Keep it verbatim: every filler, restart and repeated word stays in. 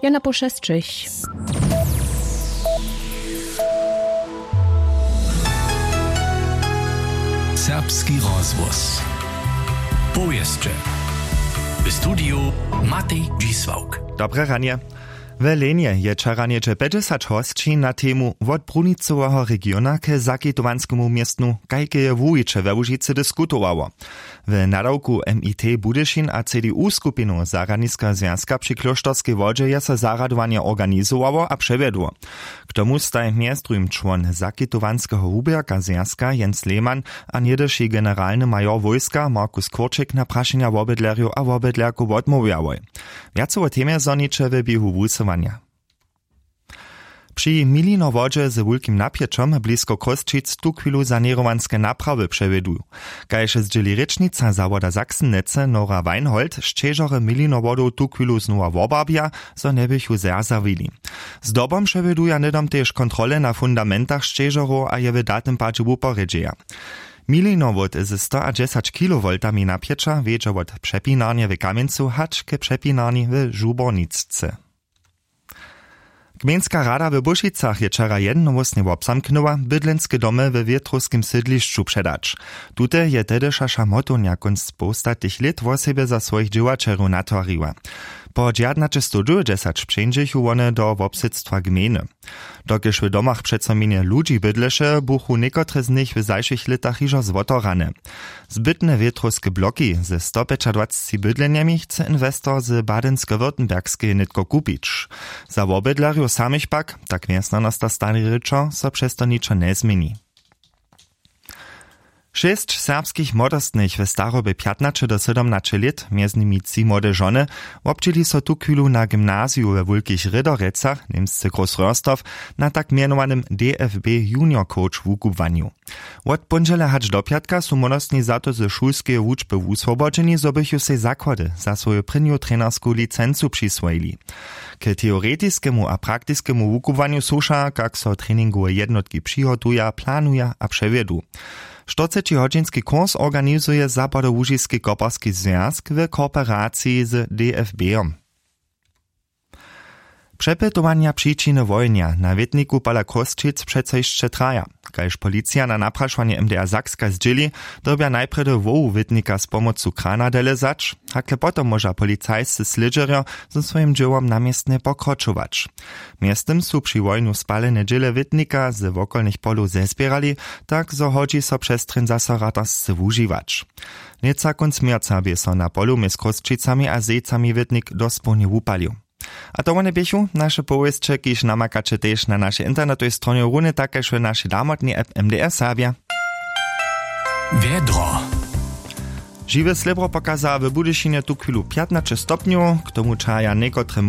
Jana po šesćich. Serbski rozhłos. Powěsće. W studiju Matej Dźisławk. Dobre ranje. W Lenje je wčera něhdźe pjećdźesat hosći na temu wot brunicoweho regiona k zakitowanskemu městnu, kajke je wuwiće we Łužicy diskutowało. W nadawku M I T Budyšin a C D U skupinu Zarjadniskeho zwjazka při Klóšterskej wodźe je so zarjadowanje organizowało a přewjedło. K tomu staj mjez druhim čłon zakitowanskeho wuběrka zwjazka Jens Lehmann a něhdyši generalny major wójska Markus Kurčik na prašenja wobydlerjow a wobydlerkow wotmołwjałoj. Wjace wo temje zhoniće w běhu wusyłanja. Při Milinowodźe z wulkim napjećom blisko Chrósćic tuchwilu saněrowanske naprawy přewjeduju. Kaž zdźěli rěčnica zawoda Saksen-Netze Nora Weinhold, sćežorje Milinowodow tuchwilu znowa wobarbja, zo njeběchu zerzawili. Zdobom přewjeduja hnydom tež kontrole na fundamentach sćežorow a je w datym padźe wuporjedźeja. Milinowod ze stoadźesać kilowoltami napjeća wjedźe wot přepinarnje w Kamjencu hač k přepinarni w Žubornicce. Gmejnska rada w Bušicach je wčera jednohłósnje wobzamknyła, bydlenske domy we wětrowskim sydlišću předać. Tute je tehdyša šamotownja kónc połstatych lět wosebje za swojich dźěłaćerjow natwariła. Po dźewjatnaćestow dźewjećdźesat přeńdźechu wone do wobsydstwa gmejny. Dokelž w domach přeco mjenje ludźi bydleše, buchu někotre z nich w zašłych lětach hižo zwotorane. Zbytne wětrowske bloki ze stopjećadwacci bydlenjemi chce inwestor z Badensko-Württembergskeje nětko kupić. Za wobydlerjow samych pak, tak mjez nanosta stari rěčo, so přez to ničo njezměni. Šěsć serbskich młodostnych w starobje pjatnaće do sydomnaće lět, mjez nimi tři młode žony, wobdźěli so tuchwilu na gymnaziju we Wulkich Rědorecach, němsce Großröhrsdorf, na tak mjenowanym D F B Junior Coach wukubłanju. Wot póndźele hač do pjatka su młodostni za to ze šulskeje wučby wuswobodźeni, zo bychu sej zakłady za swoju prěnju trenersku licencu přiswojili. K teoretiskemu a praktiskemu wukubłanju słuša, kak so treningowe jednotki přihotuja, planuja a přewjedu. Štyrcećihodźinski kurs organizuje Zapadołužiski koparski zwjazk w kooperaciji z D F B-om. Přepytowanja přičiny wohenja na wětniku pola Chrósćic přeco hišće traja. Kaž policija na naprašowanje M D R Sakska zdźěli, dyrbja najprjedy wołu wětnika z pomocu krana delezać, hakle potom móža policajscy slědźerjo ze swojim dźěłom na městnje pokročować. Mjeztym su při wohenju spalene dźěle wětnika z wokolnych polow zezběrali, tak zo hodźi so přestrjeń zaso ratarce wužiwać. Něca kónc měrca bě so na polu mjez Chrósćicami a Zejcami wětnik dospołnje wupalił. A to wone běchu naše powěsće, kiž namakaće tež na našej internetowej stronje, runje tak kaž w našej damotnej app M D R Serbja. Wjedro. Žiwe slěbro pokaza w Budyšinje tuchwilu pjatnaće stopnjow, k tomu čahaja někotre